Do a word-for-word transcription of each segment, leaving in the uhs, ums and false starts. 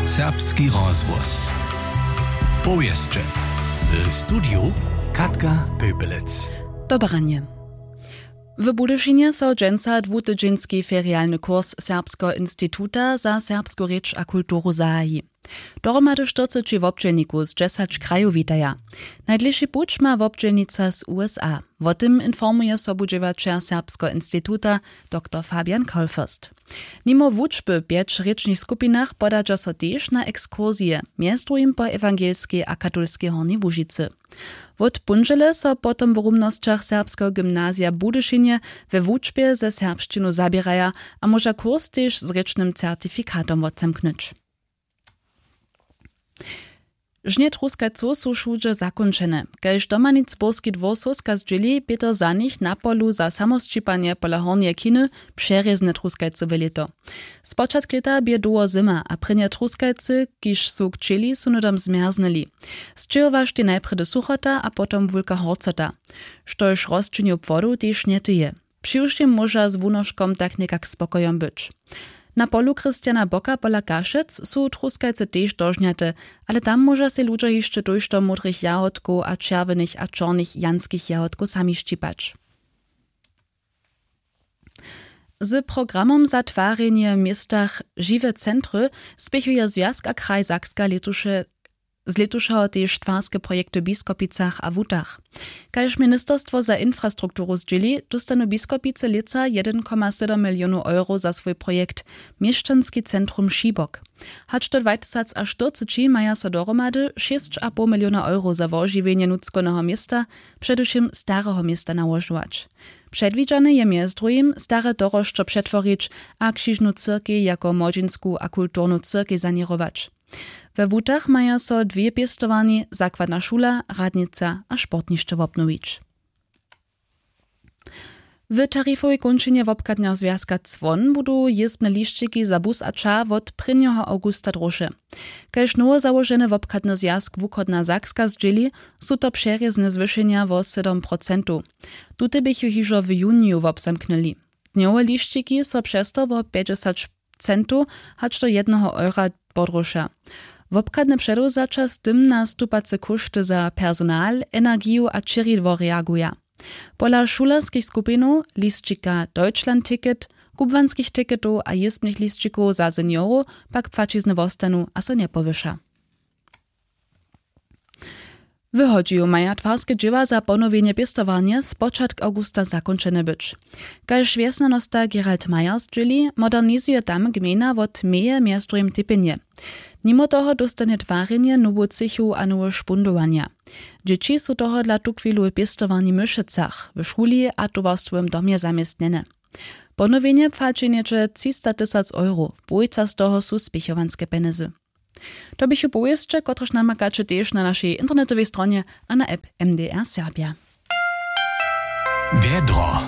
Serbski rozhłos. Powěsće. W studiju Katka Pöpelec. Dobranje. W Budyšinje so dźensa dwutydźenski ferialny kurs Serbskeho instituta za serbsku rěč a kulturu zahaji. Dohromady štyrceći wobdźělnikow z dźesać krajow witaja. Najdlěši puć ma wobdźělnica z U S A. Wo tym informuje sobudźěłaćer Serbskeho instituta doktor Fabian Kaulfürst. Nimo wučby w pjeć rěčnych skupinach podadźa so tež na ekskursije, mjez druhim po ewangelskej a katolskej Hornjej Łužicy. Wot póndźele so potom w rumnosćach Serbskeho gymnazija w Budyšinje we wučbje ze serbšćinu zaběraja a móža kurs tež z rěčnym certifikatom wotzamknyć. Žnje truskajcow su wšudźe zakónčene. Kaž domanic burski dwór słowska zdźěli, bě to za nich na polu za samosćipanje pola Hornjeje Chiny přerězne truskajcowe lěto. Spočatk lěta bě dołho zyma a prěnje truskajcy, kiž su kćěli, su hnydom zmjerznyli. Sćěhowaštej najprjedy suchota a potom wulka horcota, štož rosćenju płodow tež njetyje. Přiwšěm móža z wunoškom tak někak spokojom być. Na polu Christiana Bocka pola Kašec su truskajce tež dožnjate, ale tam móža sej ludźo hišće tójšto módrych jahodkow a čerwjenych a čornych janskich jahodkow sami šćipać. Z programom za twarjenje w městach Žiwe centry spěchuje Zwjazk a kraj Sakska lětuše z lětušeho tež twarske projekty w Biskopicach a Wutach. Kaž ministerstwo za infrastrukturu zdźěli, dóstanu Biskopicy lětsa jedyn koma sydom milionow euro za swój projekt Měšćanski centrum Šibok. Hač do dwatysacštyrceći maja so dohromady šěsć a poł miliona euro za wožiwjenje nutřkowneho města, předewšěm stareho města, nałožować. Předwidźane je mjez druhim stare dorošćo přetworić a křižnu cyrkej jako młodźinsku a kulturnu cyrkej saněrować. We Wutach maja so dwě pěstowarni, zakładna šula, radnica a sportnišće wobnowić. W tarifowej kónčinje wobchadneho zwjazka Cwon budu jězbne lisćiki za bus a ča wot prěnjeho awgusta druše. Kaž nowozałoženy wobchadny zwjazk Wuchodna Sakska zdźěli, su to přerězne zwyšenja wo sydom procentow. Tute běchu hižo w juniju wobzamknyli. Dnjowe lisćiki so přez to wo pjećdźesać centow hač do jedneho eura podruša. Wobchadne předewzaća z tym na stupace kóšty za personal, energiju a čěridło reaguja. Pola šulerskich skupinow, lisćika Deutschlandticket, kubłanskich ticketow a jězbnych lisćikow za seniorow, pak płaćizny wostanu a so njepowyša. W Hodźiju maja twarske dźěła za ponowjenje pěstowarnje spočatk awgusta zakónčene być. Kaž wjesnjanosta Gerald Meyer zdźěli, modernizuje tam gmejna wot meje mjez druhim tepjenje. Nimo toho dóstanje twarjenje nowu třěchu a nowe špundowanja. Dźěći su tohodla tuchwilu w pěstowarni w Myšecach, w šuli a towarstwowym domje zaměstnjene. Ponowjenje płaći něhdźe třista tysac euro, połojca z toho su spěchowanske pjenjezy. To běchu powěsće, kotrež namakaće tež na našej internetowej stronje a na app M D R Serbia. Wjedro.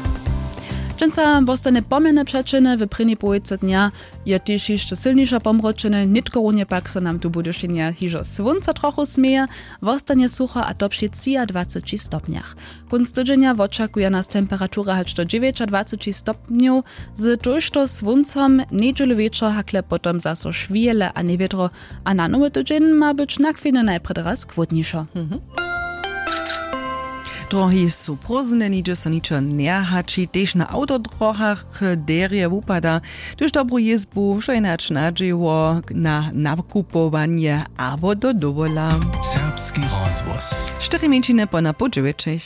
Dźensa wostanje pomjerne přećelne, w prěni połojce dnja je tež hišće sylniše pomročene, nětkorunje pak so nam tu w Budyšinje hižo słónco trochu směje. Wostanje sucho, a to při třiadwaceći stopnjach. Kónc tydźenja wočakuja nas temperatura hač do dźewjećadwaceći stopnjow, z tójšto słóncom. Njedźelu wječor hakle potom zaso šwěle a njewědro, a na nowy tydźeń ma być na chwilnje najprjedy raz chłódnišo. Drohi su prózdne, nihdźe so ničo njehaći, tež na awtodrohach derje wupada. Hdyž dobru jězbu wšo jenož nadźěło na nakupowanje abo do dowola. Serbski rozhłos. Štyri mjeńšiny po na poł dźewjećich.